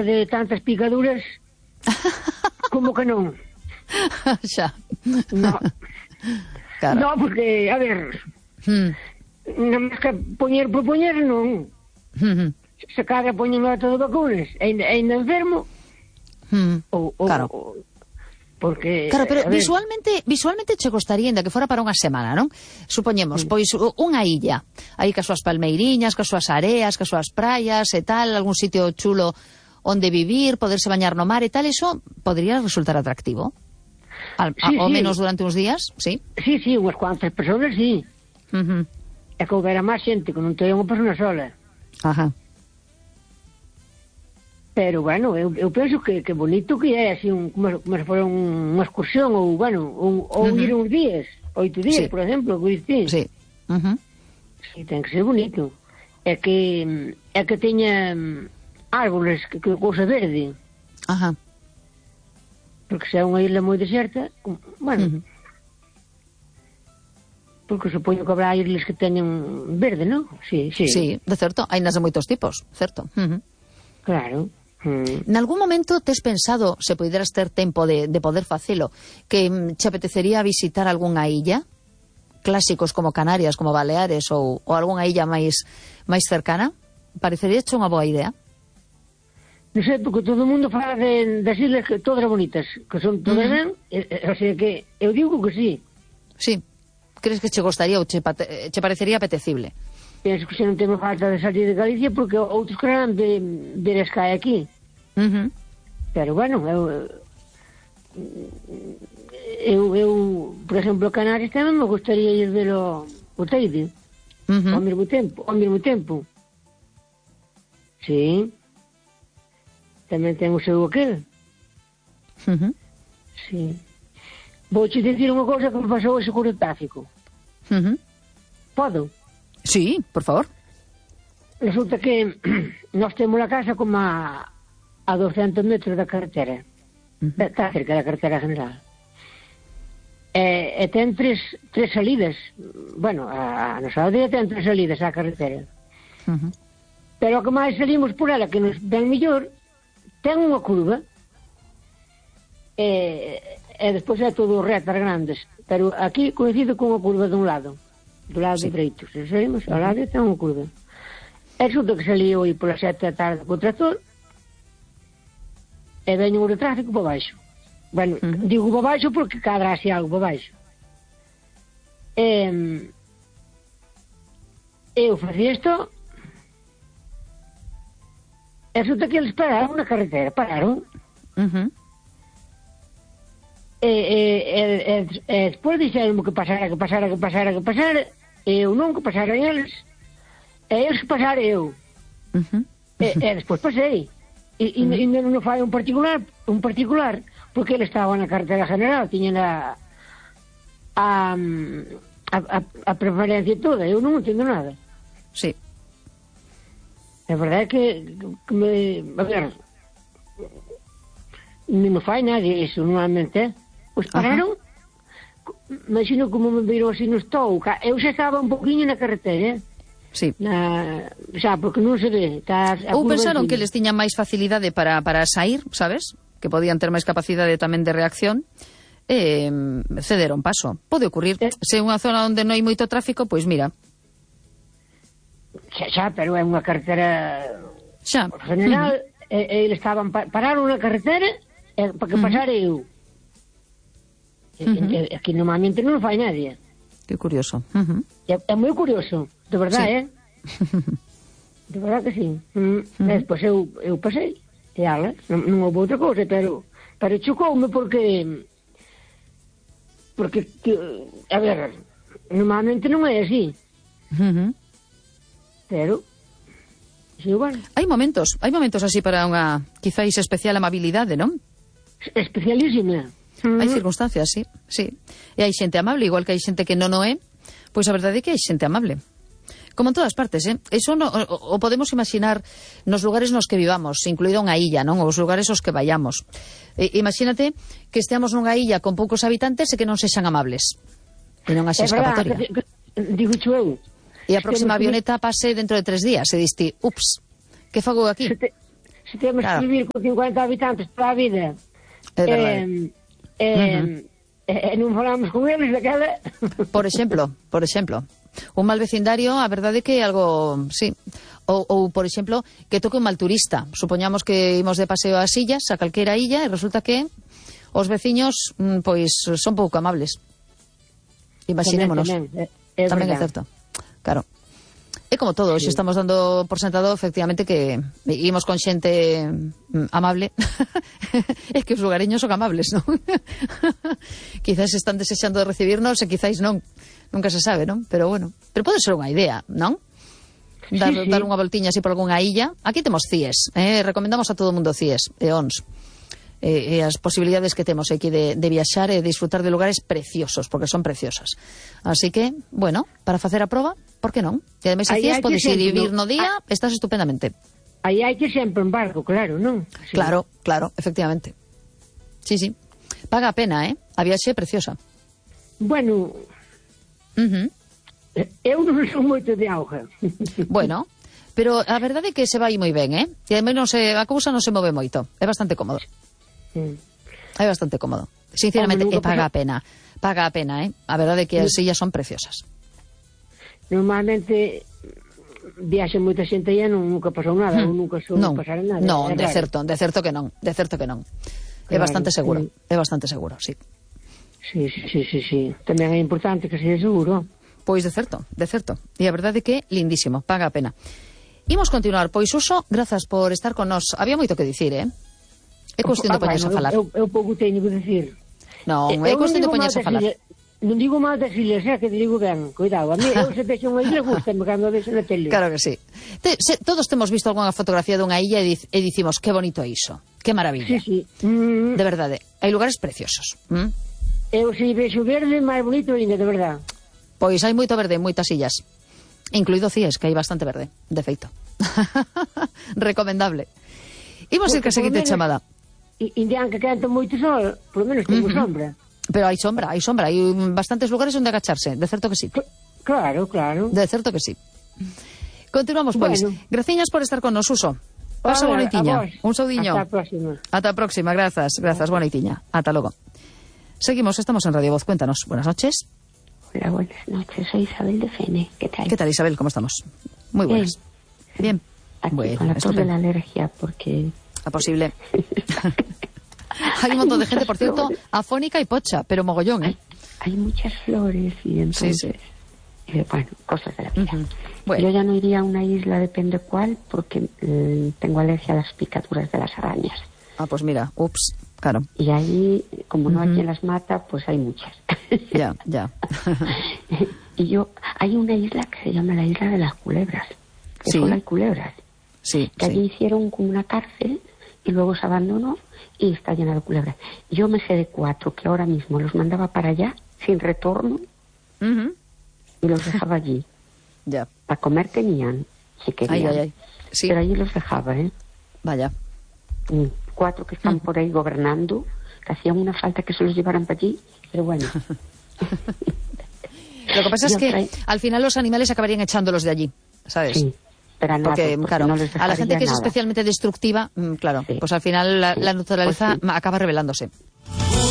de tantas picaduras, como que non? Xa. No. Claro. No, porque, a ver, non máis que poñer por poñer, non. Se cada poñen a todo vacunas, ainda enfermo, claro. porque... Claro, pero visualmente che gostaría ainda que fora para unha semana, non? Supoñemos, pois unha illa, aí cas súas palmeiriñas, cas súas areas, cas súas praias e tal, algún sitio chulo onde vivir, poderse bañar no mar e tal, eso podría resultar atractivo? Ao menos durante uns días, sí? Sí, unhas cuantas personas, sí. É que houbera máis xente, que non teña unha persona sola. Ajá. Pero, bueno, eu penso que bonito que é, así, como se fora unha excursión, ou, bueno, ou ir uns días, 8 días, por exemplo, que dicís. Sí. Sí, ten que ser bonito. É que teña árboles, que cousa verde. Ajá. Porque se é unha isla moi deserta, bueno, porque supoño que habrá islas que teñen verde, non? Sí, de certo, hai nas de moitos tipos, certo. Claro. Nalgún momento tes pensado, se poideras ter tempo de poder facelo, que che apetecería visitar algunha illa? Clásicos como Canarias, como Baleares ou algunha illa máis cercana? Parecería unha boa idea? Non sei, porque todo o mundo fala das islas que todas bonitas, que son todas ben, o sea que eu digo que sí. Sí. Crees que che gostaría ou che parecería apetecible? Penso que se non temos falta de salir de Galicia, porque outros querán ver as cae aquí. Pero, bueno, eu por exemplo, Canarias tamén me gustaría ir ver o Teide, ao mesmo tempo. Sí. Tamén ten o seu aquel. Sí. Vouche dicir unha cousa que me pasou ese con o tráfico. Podo? Sí, por favor. Resulta que nós temos a casa como a 200 metros da carretera. Está cerca da carretera general. E ten tres salidas. Bueno, a nosa aldea ten 3 salidas á carretera. Pero o que máis salimos por ela, que nos ven mellor, ten unha curva. E despois é todo retas grandes. Pero aquí coincido con unha curva dun lado. Do lado dereito. Se saímos ao lado ten unha curva. E resulta que salí hoy pola 7 da tarde co tractor e veño o tráfico para baixo. Bueno, digo para baixo porque cadra así algo para baixo. Eu facía isto e resulta que eles pararon na carretera. Pararon. E despois dixeron que pasara, e eu non, que pasaran eles, e eles que pasara eu. E despois pasei, e non fai un particular, porque ele estaba na carretera general, tiñen a preferencia toda, eu non entendo nada. Sí. A verdade é que a ver, non me fai nadie iso, normalmente, Pois pararon, imagino como me viron así no estou. Eu xa estaba un poquinho na carretera, sí. Xa, porque non se ve. Ou pensaron que les tiñan máis facilidade para sair, sabes? Que podían ter máis capacidade tamén de reacción, cederon paso. Pode ocurrir. Se é unha zona onde non hai moito tráfico, pois mira. Xa, pero é unha carretera general, e eles pararon na carretera para que pasara eu. Aquí normalmente non fai nadie. Que curioso. É moi curioso, de verdade, de verdade que sí. Despois eu pasei e ala, non houve outra cousa, pero chocoume porque a ver, normalmente non é así. Pero sí, bueno. Hai momentos así para unha quizáis especial amabilidade, non? Especialísima. Hai circunstancias, sí. E hai xente amable, igual que hai xente que non o é, pois a verdade é que hai xente amable. Como en todas partes, Eso o podemos imaginar nos lugares nos que vivamos, incluído unha illa, non? Os lugares aos que vayamos. Imagínate que esteamos nunha illa con poucos habitantes e que non sexan amables. E non haxe escapatoria. Digo eu. E a próxima avioneta pase dentro de 3 días e diste, ups, que fago aquí? se temos que vivir con 50 habitantes toda a vida, non falamos con eles daquela... Por exemplo, un mal vecindario, a verdade é que é algo, sí, ou por exemplo, que toque un mal turista. Supoñamos que imos de paseo ás illas, a calquera illa, e resulta que os veciños, pois, son pouco amables. Imaginémonos. Tamén é certo. Claro. É como todo, hoxe estamos dando por sentado efectivamente que imos con xente amable. É que os lugareños son amables, non? Quizás están desexando de recibirnos e quizás non. Nunca se sabe, non? Pero bueno, pero pode ser unha idea, non? Dar unha voltiña así por algunha illa. Aquí temos CIES, recomendamos a todo o mundo CIES e ONS. E as posibilidades que temos aquí de viaxar e disfrutar de lugares preciosos, porque son preciosas. Así que, bueno, para facer a proba, por que non? E ademais a CIES podes ir vivir no día, estás estupendamente. Aí hai que sempre en barco, claro, non? Sí. Claro, efectivamente. Sí. Paga a pena, A viaxe é preciosa. Bueno, eu non son moito de auga. Bueno, pero a verdade é que se vai moi ben, E ademais a cousa non se move moito. É bastante cómodo. É bastante cómodo. Sinceramente, paga a pena. Paga a pena, A verdade é que as illas son preciosas. Normalmente viaxe moita xente e nunca pasou nada, ou nunca pasar nada. Non, de certo que non. É bastante seguro, sí. Sí. Tamén é importante que seja seguro. Pois de certo. E a verdade é que lindísimo, paga a pena. Imos continuar, pois Suso, grazas por estar con nós. Había moito que dicir, É cuestión de poñerse a falar. Eu pouco teño que dicir. Non, é cuestión de poñerse a falar. Non digo mal das ilhas, que te digo ben. Cuidado, a mí eu se vexo unha ilha gustame cando vexo na tele. Claro que sí. Todos temos visto algunha fotografía dunha illa e dicimos, que bonito é iso, que maravilla. Sí. De verdade, hai lugares preciosos. Eu se vexo verde, máis bonito ainda, de verdade. Pois hai moito verde en moitas illas, incluído CIES, que hai bastante verde, de feito. Recomendable. Imos ir que a seguinte chamada. Indian que quenta moito sol, por lo menos temos sombra. Pero hai sombra, hai bastantes lugares onde agacharse, de certo que sí. Claro. De certo que sí. Continuamos, pois. Bueno. Graciñas por estar con nos, Suso. Pasa boa noitiña. Un saudiño. Ata a próxima, grazas, boa noitiña. Ata logo. Seguimos, estamos en Radio Voz, cuéntanos. Buenas noches. Hola, buenas noches, soy Isabel de Fene. ¿Qué tal? ¿Qué tal, Isabel? ¿Cómo estamos? Muy buenas. Bien. Aquí bueno, con la tos de la alergia, porque... Es posible. Hay un montón de gente, por cierto, afónica y pocha, pero mogollón, Hay muchas flores y entonces... Sí. Bueno, cosas de la vida. Bueno. Yo ya no iría a una isla, depende cuál, porque tengo alergia a las picaduras de las arañas. Ah, pues mira, ups, claro. Y ahí, como no hay quien las mata, pues hay muchas. Ya. Y hay una isla que se llama la Isla de las Culebras, que solo hay culebras. Sí, que allí hicieron como una cárcel y luego se abandonó y está llena de culebras. Yo me sé de 4 que ahora mismo los mandaba para allá sin retorno y los dejaba allí. Ya. Para comer tenían, si querían. Ay. Sí. Pero allí los dejaba, Vaya. 4 que están por ahí gobernando, que hacían una falta que se los llevaran para allí, pero bueno. Lo que pasa es que al final los animales acabarían echándolos de allí, ¿sabes? Sí. Porque claro, no a la gente que es especialmente destructiva, claro, pues al final la naturaleza acaba rebelándose.